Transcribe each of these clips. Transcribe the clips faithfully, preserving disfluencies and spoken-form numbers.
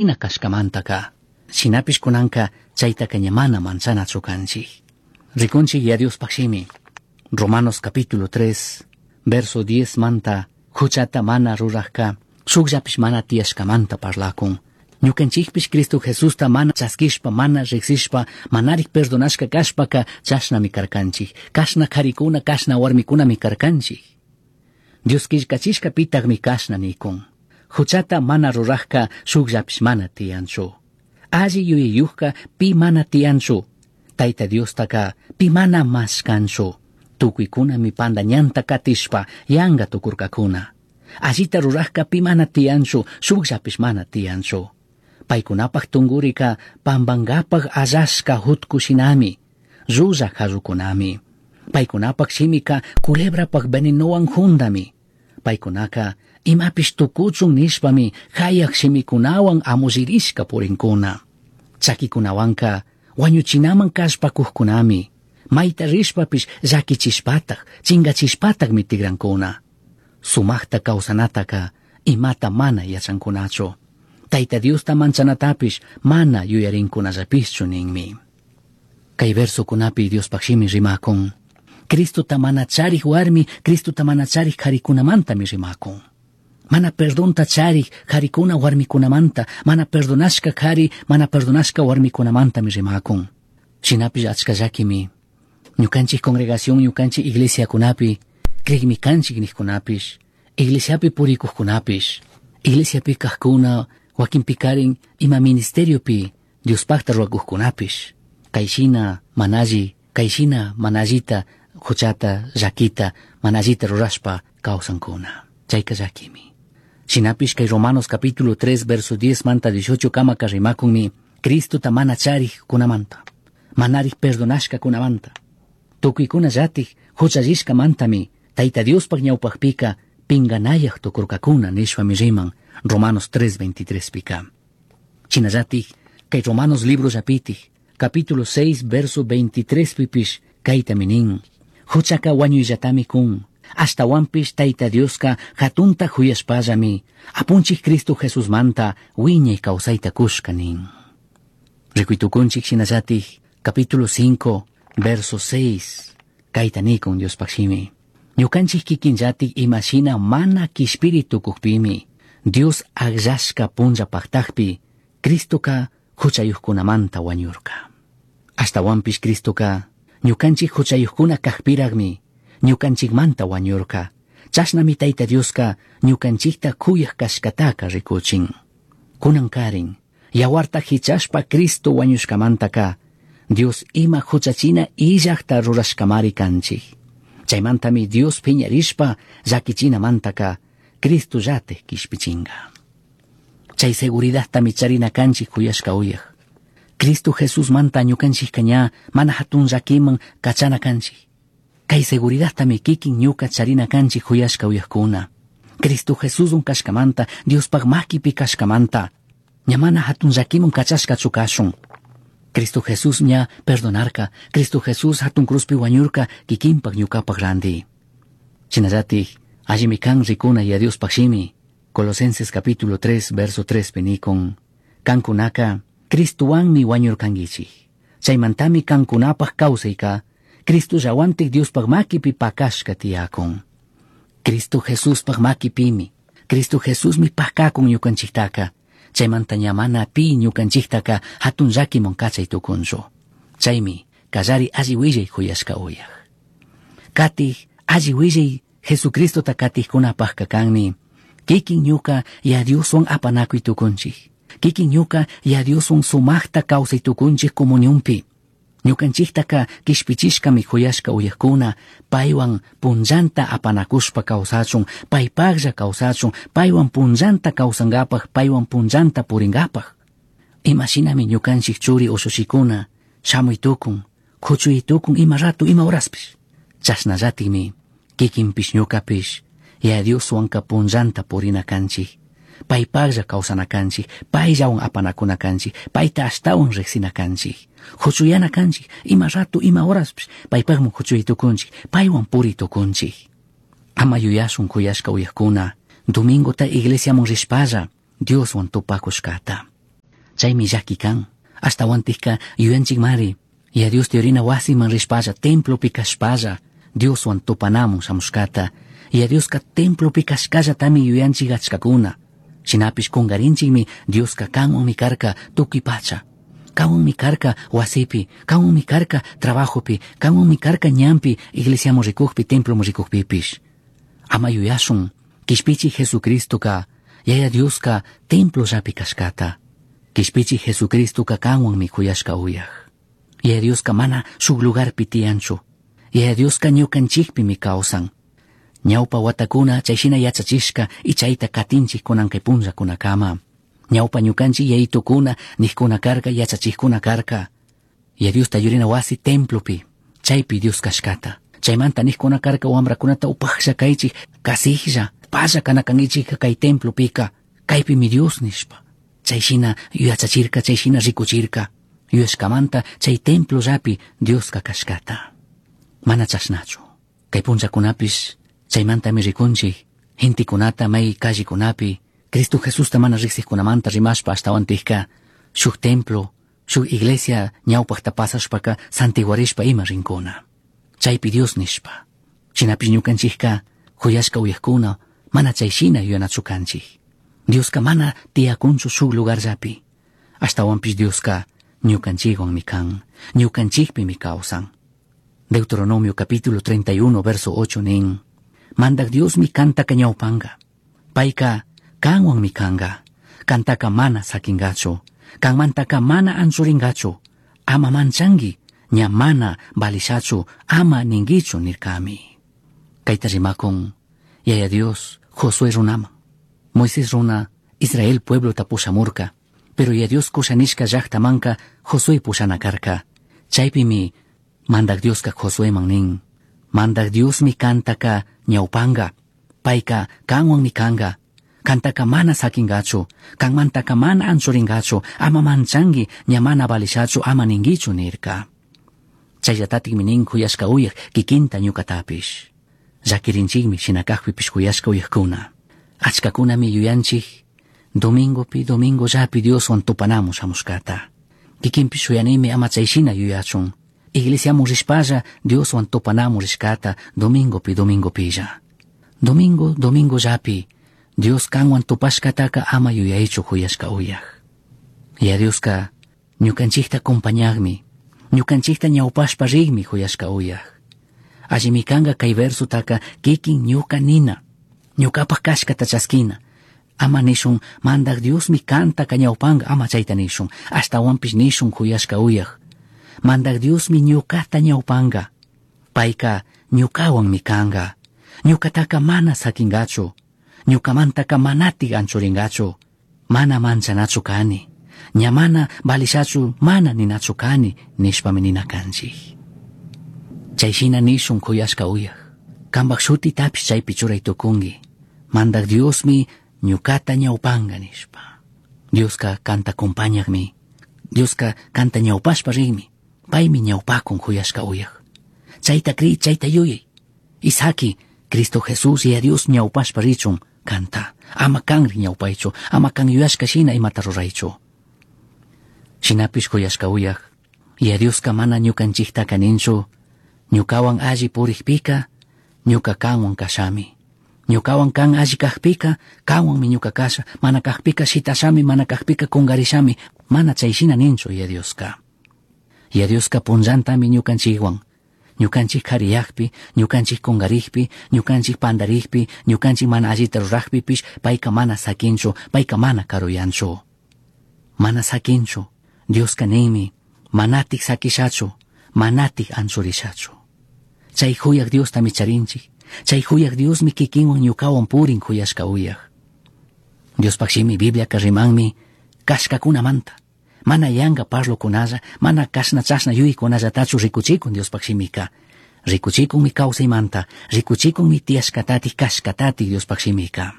Ina kashkamantaka. Shinapish kunanka chaytaka ña mana manchanachu kanchik. Rikunchik ya Diospaj shimi. Romanos capítulo tres, verso diez manta, huchata mana rurajka, shukllapish mana tiyashkamanta parlakun. Ñukanchikpish Cristo Jesusta mana chaskishpa, mana riksishpa, manarik perdonashka kashpaka chashnami karkanchik. Kashna karikuna, kashna warmikunami karkanchik. Dios killkachishka pitagmi kashna nikun. Huchata mana rurajka shukllapish mana tiyanchu. Alli yuyayujka pi mana tiyanchu. Tayta Diostaka pi mana mashkanchu. Tukuykunami panda ñanta katishpa yanga tukurkakuna. Allita rurajka pi mana tiyanchu, shukllapish mana tiyanchu. Paykunapaj tungurika pambankapaj allashka hutkushinami, llulla jarrukunami. Paykunapaj shimika culebrapaj venenowan jundami. Paykunaka imapish tukuchun nishpami hayaj shimikunawan amullirishka purinkuna. Chakikunawanka wañuchinaman kallpakujkunami. Mayta rishpapish llakichishpataj, chingachishpatajmi tigrankuna. Sumajta kawsanataka imata mana yachankunachu. Tayta Diosta manchanatapish mana yuyarinkunallapishchu ninmi. Kay versokunapi Diospaj shimi rimakun. Cristota mana charij warmi, Cristota mana charij karikunamantami rimakun. Mana perdonta charij karikuna warmikunamanta, mana perdonashka kari, mana perdonashka warmikunamantami rimakun. Shinapish achka llakimi. Ñukanchik congregación, ñukanchik iglesiakunapi, krigmi kanchik nijkunapish, iglesiapi purikuqkunapish, iglesiapi kajkuna, wakinpikarin ima ministeriopi Diospajta ruwakuqkunapish. Kayshina manalli, kayshina manallita huchata, llakita, manallita rurashpa kawsankuna. Chayka llakimi. Shinapish kay Romanos capítulo tres verso diez manta dieciocho kamaka rimakunmi Cristota mana charij kunamanta, manarij perdonashka kunamanta. Tukuykuna llatik huchallishkamantami Tayta Diospaj ñawpajpika pinganayaj tukurkakuna nishpami riman Romanos tres veintitrés pika. Shinallatik kay Romanos libro llapitik capítulo seis verso veintitrés pipish kaytami nin. Huchaka wañuyllatami kun. Ashtawanpish Tayta Dioska hatunta huyashpallami apunchik Cristo Jesusmanta wiñay kawsayta kushka nin. Rikuytukunchik shinallatik capítulo cinco verso seis kayta nikun Diospaj shimi. Ñukanchik kikinllatik imashina mana kishpiri tukukpimi Dios akllashka punlla paktakpi Cristoka huchayuqkunamanta wañurka. Ashtawanpish Cristoka ñukanchik huchayuqkuna kaqpiraqmi ñukanchikmanta wañurka. Chashnami Tayta Dioska ñukanchikta kuyaq kashkataka rikuchin. Kunankarin yawarta hichashpa Cristo wañushkamantaka Dios ima huchachina illaqta rurashkamari kanchik. Chaymantami Dios piñarishpa llakichinamantaka Cristo llate kishpichinga. Chay seguridadtami charina kanchik kuyashka uyaq. Cristo Jesús manta ñukanchikka ña mana hatun llakiman kachana kanchik. Kay seguridadtami kikin ñuka charina kanchik kuyashka uyaqkuna. Cristo Jesús kashkamanta, Diospaj makipi kashkamanta, ña mana hatun llakiman kachashkachu kashun. Cristo Jesús ña perdonarka, Cristo Jesús hatun cruzpi wañurka kikinpak ñukapaj randi. Shinallatik, allimi kan rikuna ya Diospaj shimi. Colosenses capítulo tres verso tres penikon. Kankunaka, Cristowanmi wañurkankichik. Chaymantami kankunapaj kawsayka, Cristo llawantik Diospaj makipi pakashka tiyakun. Cristo Jesuspaj makipimi, Cristo Jesusmi pakakun ñukanchiktaka. Chaymanta ña mana pi ñukanchiktaka hatun llakiman kachay tukunchu. Chaymi kallari alli willay kuyashka uyaj. Katij alli willay Jesucristota katijkunapajka kanmi. Kikin ñuka ya Dioswan apanakuy tukunchik. Kikin ñuka ya Dioswan sumaqta kawsay tukunchik comunionpi. Ñukanchiktaka kishpichishkami kuyashka uyajkuna, paywan punllanta apanakushpa kawsachun, paypaqlla kawsachun, paywan punllanta kawsankapaj, paywan punllanta purinkapaj. Imashinami ñukanchik churi ushushikuna, shamuy tukun, kuchuy tukun ima ratu ima horaspish. Chashnallatikmi, kikinpish ñukapish, ya Dioswanka punllanta purina kanchik. Paypaqlla kawsana kanchik, payllawan apanakuna kanchik, payta ashtawan riqsina kanchik. Huchuyana kanchik, ima rato, ima horaspish, paypaqman huchuy tukunchik, paywan puri tukunchik. Ama yuyashun kuyashka uyaqkuna, domingota iglesiaman rishpalla, Dioswan tupakushkata. Chaymi llaki kan. Ashtawantikka yuyanchikmari. Yaya Diosta yurina wasiman rishpalla, templopi kashpalla, Dioswan tupanamun shamushkata. Yaya Dioska templopi kashkallatami yuyanchik achkakuna. Shinapish kungarinchikmi Dioska kanwanmi karka tukuy pacha. Kanwanmi karka wasipi, kanwanmi karka trabajopi, kanwanmi karka ñanpi, iglesiaman rikukpi, temploman rikukpipish. Ama yuyashun, Kishpichik Jesucristoka, Yaya Dioska templollapi kashkata. Kishpichik Jesucristoka kanwanmi kuyashka uyaj. Yaya Dioska mana shuk lugarpi tiyanchu. Yaya Dioska ñukanchikpimi kawsan. Ñawpa watakuna chayshina yachachishka y chayta katinchik kunan kay punllakunakama. Ñawpa ñukanchik yayitukuna nijkuna karka yachachikuna karka. Yaya Diosta yurina wasi templopi, chaypi Dios kashkata. Chaymanta nijkuna karka wamrakunata upajlla kaychik, kasijlla, palla kana kankichik kay templopika, kaypimi Dios nishpa. Chayshina yachachirka, chayshina rikuchirka. Yuyashkamanta chay templollapi Dioska kashkata. Mana chashnachu. Kay punllakunapish chaymantami rikunchik, gentekunata may callekunapi, Cristo Jesusta mana riqsiqkunamanta rimashpa ashtawantikka, shuk templo, shuk iglesia ñawpaqta pasashpaka santiguarishpa ima rinkuna. Chaypi Dios nishpa. Shinapish ñukanchikka kuyashka uyajkuna mana chayshina yuyanachu kanchik. Dioska mana tiyakunchu shuk lugarllapi. Ashtawanpish Dioska ñukanchikwanmi kan, ñukanchikpimi kawsan. Deuteronomio capítulo treinta y uno, verso ocho nin, Mandak Diosmi kantaka ñawpanga. Payka kanwanmi kanga. Kantaka mana sakingachu. Kanmantaka mana anchuringachu. Ama manchangi, ña mana balishachu, ama ningichu nirkami. Kayta rimakun, Yaya Dios, Josué runaman. Moisés runa, Israel pueblo tapushamurka. Pero Yaya Dios kushanishka llaqtamanka Josué pushana karka. Chaypimi Mandak Dioska Josuéman nin. Mandak Diosmi kantaka ñawpanga. Payka kanwanmi kanga. Kantaka mana sakingachu. Kanmantaka mana anchuringachu. Ama manchangi, ña mana balishachu, ama ningichu nirka. Chayllatatikmi nin kuyashka uyaj kikinta ñukatapish. Llakirinchikmi shinakajpipish kuyashka uyajkuna. Achkakunami yuyanchik, domingopi, domingollapi Dioswan tupanamun shamushkata. Kikinpish shuyanimi ama chayshina yuyachun. Iglesiamun rishpalla Dioswan tupanamun rishkata domingopi, domingopilla. Domingo, domingollapi Dios kanwan tupashkataka ama yuyaychu kuyashka uyaj. Ya Dioska ñukanchikta acompañagmi, ñukanchikta ñawpashpa rigmi kuyashka uyaj. Allimi kanga kay versotaka kikin ñuka nina, ñukapaj kashkata chaskina. Ama nishun, Mandak Diosmi kantaka ñawpanga, ama chayta nishun, ashtawanpish nishun kuyashka uyaj. Mandak Diosmi ñukata ñawpanga, payka ñukawanmi kanga, ñukataka mana sakingachu, ñukamantaka manatik anchuringachu, mana manchanachu kani, ña mana balishachu, mana ninachu kani, nishpami nina kanchik. Chayshina nishun kuyashka uyaj, kambak shutitapish chaypi churay tukunki, Mandak Diosmi ñukata ñawpanga nishpa. Dioska kanta acompañagmi, Dioska kanta ñawpashpa rigmi, paymi ñawpakun kuyashka uyaj. Chayta kri, chayta yuyay. Isaki, Cristo Jesús y a Dios ñawpashpa richun kanta. Ama kanri ñawpaychu, ama kan yuyashka shina imata ruraychu. Shinapish kuyashka uyaj, y a Dioska mana ñukanchiktaka ninchu, ñukawan alli purikpika, ñuka kanwan kashami. Ñukawan kan alli kajpika, kanwanmi ñuka kasha, mana kajpika shitashami, mana kajpika kungarishami, mana chayshina ninchu ya Dioska. Ya Dioska punllantami ñukanchikwan. Ñukanchik kariyakpi, ñukanchik kungarikpi, ñukanchik pandarikpi, ñukanchik mana allita rurajpipish, payka mana sakinchu, payka mana karuyanchu. Mana sakinchu, Dioska ninmi, manatik sakishachu, manatik anchurishachu. Chay huyak Diostami charinchik, chay huyak Diosmi kikinwan ñukawan purin huyashka uyaj. Diospaj shimi Bibliaka rimanmi kashkakunamanta. Mana yanga parlokunalla, mana kashna chashna yuykunallatachu rikuchikun Diospaj shimika. Rikuchikunmi kawsaymanta, rikuchikunmi tiyashkatatik kashkatatik Diospaj shimika.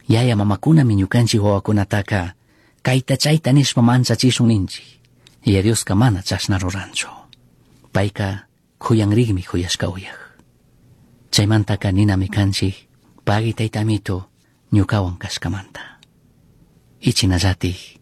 Yaya mamakunami ñukanchik wawakunataka kayta chayta nishpa manchachishun ninchik. Yaya Dioska mana chashna ruranchu. Payka kuyanrikmi kuyashka uyaj. Chaymantaka ninami kanchik, pagui tayta amito ñukawan kashkamanta. Ichinallatik